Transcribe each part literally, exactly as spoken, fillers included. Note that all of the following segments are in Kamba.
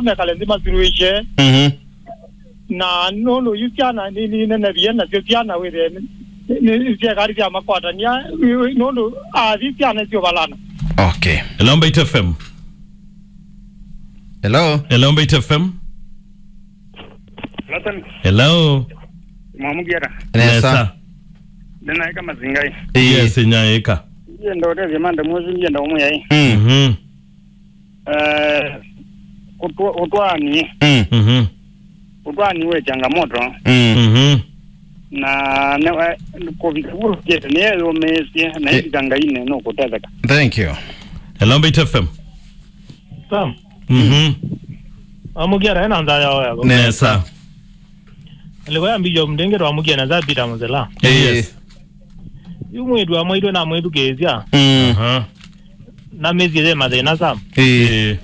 mekale nthĩ masuluhisye. Mhm. Na nũndũ yu syana nĩ, nĩ nene via nasyo syana wĩthĩe nĩ, nĩ, nĩ syekali sya makwatania, ĩ, ĩ, nũndũ athi syana syo valana. Okay. Hello, Mbaitu F M. Hello. Hello, Mbaitu F M. Nathan, hello. Mwamugiara. Nesa. Nesa. Nĩnaĩka mazingai. Ĩĩ. Yes, nyaĩka. Ndienda ũtethya manda mwezi, ndienda ũmwe yaĩ. Mm. Mhm. Eh, kutwa-, kutwani. Mm. Mhm. Kutwani we changamoto. Mm. Mhm. Na ne, eh, kuvika vukete nĩ yeyũmĩĩsye, na eh, ĩvika Ngai nĩ nũkũtetheka. Thank you. Hello, Mbaitu F M. Sam. Mhm. Amugiara ena nzaya oya. Nesa. Nesa. Alikuwa ya mbijo mdenge twa mugia na za Peter Muzela. Eh. Yes. Yu mwĩtu wa mwĩtu na mwĩtu kĩsya. Mm. Aha. Na mĩsyĩ ye mathĩna Sam. Eh. Eh.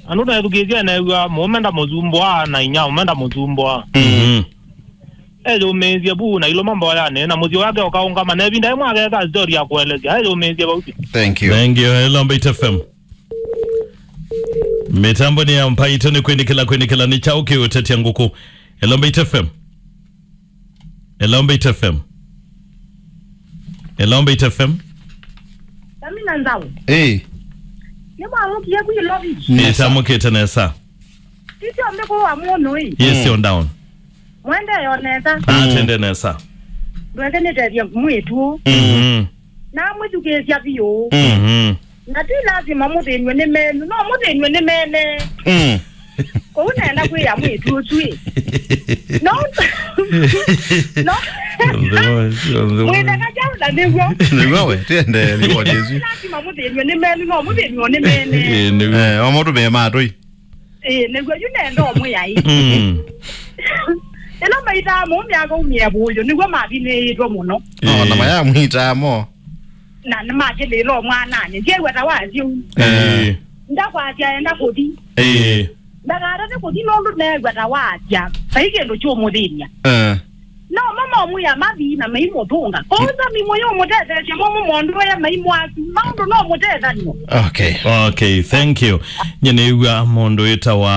Andũ na ethukĩĩsya neew'a mũũme ndamũsumbũa na inya mũũme ndamũsumbũa. Mhm. Eyũmĩĩsye vu na ilũma mboyanĩ na mũsyĩ wake ũkaũngama na ĩvinda ĩmwe akeka story ya kũelesya. Eyũmĩĩsye vau. Thank you. Thank you. Hello, Mbaitu F M. Mĩtambo nĩ ya Mbaitu nĩ kwĩnĩkĩla, kwĩnĩkĩla nĩ kyaũ kĩũtetya ngũkũ. Hello, Mbaitu F M. Hello, Mbaitu F M. Hello, Mbaitu F M. Samina Nzau. Eh. Nĩ mwamũkie kwĩ lovi. Nesa. Nĩtamũkĩte nesa. Sisyo mbĩkũ wa mũnũ ĩ. Yes, mm, you're down. Mwende yo nesa. Ah, mm, tende nesa. Ndweke nĩtethya mwĩtu. Mhm. Na mwĩthukĩĩsya vyũ. Mhm. Na ti lazima mũthĩnw'e nĩ menu, no mũthĩnw'e nĩ mene. Mm. Kũu nenda kwĩa mwĩtu ũsu ĩ. No. No. Mwĩtheka kyaũ na nĩw'o. Nĩw'o we, tiende ripoti ĩsu. Lazima mũthĩnw'e nĩ menu, no mũthĩnw'e nĩ mene. Eh, nĩw'o. Eh, o mũndũ me matũi. Ĩĩ, nĩw'o yu nenda ũmwĩa ĩ. Mm. Ĩla maitaa mũũme akaumia vũyũ, nĩw'o mavinĩĩtwe mũno. No, na ĩĩ, mayamwitaa mo. Na nĩmakĩlĩĩla o mwananĩ. Ndyew'a ta wasya ũu. Eh. Ndakwasya enda kũthi. Ĩĩ. Ndakatate kũthi nũndũ neew'a ta wasya. Vai kĩndũ kyũmũthĩny'a. Eh. No mama ũmwĩa mathi na maimũtũnga. Kwoou Sami mũyũmũtetheesya mo mũmondũe maimwaku. Maũndũ no mũtethanyo. Okay. Okay, thank you. Nye nĩw'a mũndũ wĩtawa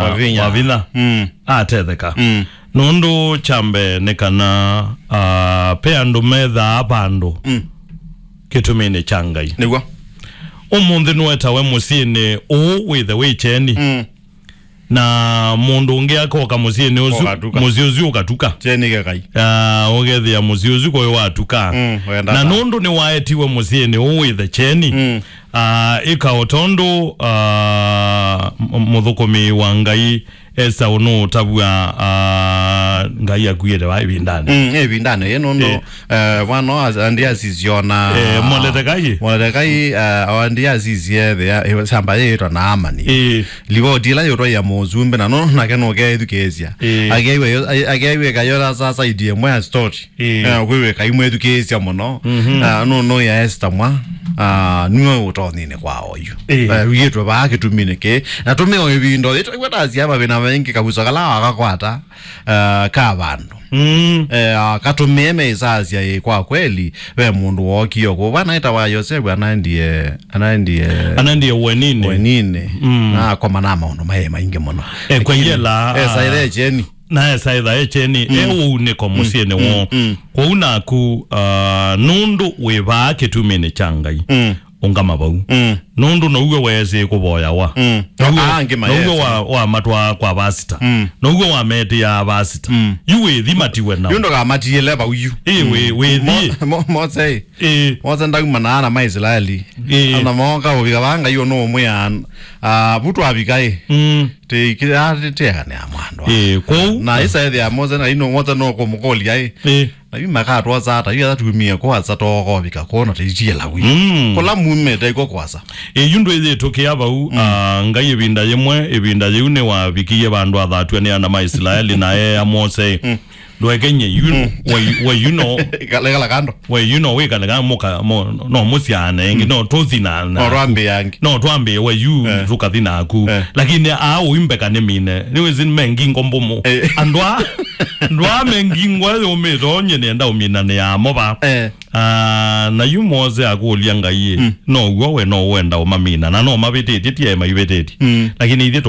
Wavinya. Wavinya. Mm. Atetheka. Mm. Nũndũ kya mbee nĩ kana, ah, pe andũ methaa vandũ, mm, kĩtuminĩ kya Ngai. Nĩw'o. Ũmũnthĩ nũetawe mũsyĩnĩ ũũ wĩthe wĩ kyeni. Mm. Na mũndũ ũngĩ akoka mũsyĩnĩ ũsu, ũkatuka. Mũsyĩ ũsu ũkatuka. Kyeni kĩkai. Ah, ũkethĩa mũsyĩ ũsu kũĩ watuka. Mm, wenda na ta. Nũndũ nĩwaetiwe mũsyĩnĩ ũũ wĩthe kyeni. Mm. Ah, ĩka o tondũ, ah, m-, mũthũkũmi wa Ngai Esa ũnũũtavw'a, ah, Ngai akuĩte va ĩvindanĩ. Mm, ĩvindanĩ yĩ nũndũ, eh, eh, vano as-, andi asisiona, eh, Moletekai. Moletekai, eh, andi asisie thĩa, eh, samba yĩĩtwa Naamani. Eh. Livoti ĩla yũtwaia mũsumbĩ, na no nake nũkeethukĩĩsya. Eh. Akeew'a yo-, a-, akeew'ĩka yola sasa idie mwe story. Ĩĩ. Eh, kwĩw'ĩka imwĩthukĩĩsya mũno. Mhm. Ah, nũnũĩa Esta mwa, ah, nue ũtonyinĩ kwa oyu. Ĩĩ. Eh, wĩtwe vaa kĩtuminĩ kĩĩ. Na tũmĩo ĩvinda, ĩtwaiwe tasya mathĩna maingĩ kavuso kala wakakwata, ah, ka vandũ. Mm. Eh, ah, katũmĩe meisasya ĩ kwa kweli, ve mũndũ wookie kũu. Vana ĩtawa Yosevu anaendie, anaendie Anaendie ũeninĩ. Ũeninĩ. Mm. Na akoma na maũndũ maĩ maingĩ mũno. Eh, kwa lakini, yela, eh, ah, saithe kyeni. Na esa etha e kyeni, mm, e ũunĩko, mm, mũsyĩnĩ, mm, woo. Mm. Kwoou naku, ah, nũndũ wĩ vaa kĩtuminĩ kya Ngai, mm, ũngama vau. Mm. Nũndũ now'o weesĩ kũvoyawa. Mm. Now'o, ah, angĩ now'o mayesĩ. Wa, wamatwaa kwa vasita. Mm. Now'o wametĩaa vasita. Mm. Yu wĩthi matiwe nao. Yu ndũkamatiĩle vau yu. Ĩ, wĩ, mm, wĩthi. Mo-, mo-, Mose, ĩ. Ĩ. Mose ndaumana na ana ma Isilaeli. Ĩ. Ana mooka ũvika vaa Ngai ũnũũmwĩa, ah, vu twavika ĩ. Mm. Tĩkĩatĩteanĩa mwandũ. Ĩĩ, kwoou. Na ĩsa ethĩa Mose na ino Mose no kũmũkũlya ĩ. Ĩĩ. Na yu makatwosa ata, yu ata tumie kwasa tokovika kũona tĩitiela wi. Mm. Kũla mumĩte iko kwasa. Ĩĩ, yu ndwĩyĩtũkĩa vau, mm, ah, Ngai ĩvinda yĩmwe, ĩvinda yĩu nĩwavikie vandũ athatw'a nĩ ana ma Isilaeli na eea Mose. Mm. Ndwekenye yu, we, we, you know, Ikala, ikala kando. We, you know, wĩkale kana mũka, mo, no mũsyane, ĩngĩ, no tũthi na, na No twambĩange. No twambĩe, we, you, Eh. tũkathi naku. Eh. Lakini aa ũimbeka nĩ mine. Nĩwĩsĩ me ngingo mbũmũ. Eh. Andũ a, andũ a me ngingo yũmĩte, onye nĩenda ũminanĩa mo va. Eh. Ah, na yu Mose akũlya Ngai, Mm. no w'o we no wenda ũmamina, na no mavĩtĩtye, ti e maivĩtĩtye. Mm. Lakini ithyĩ tũ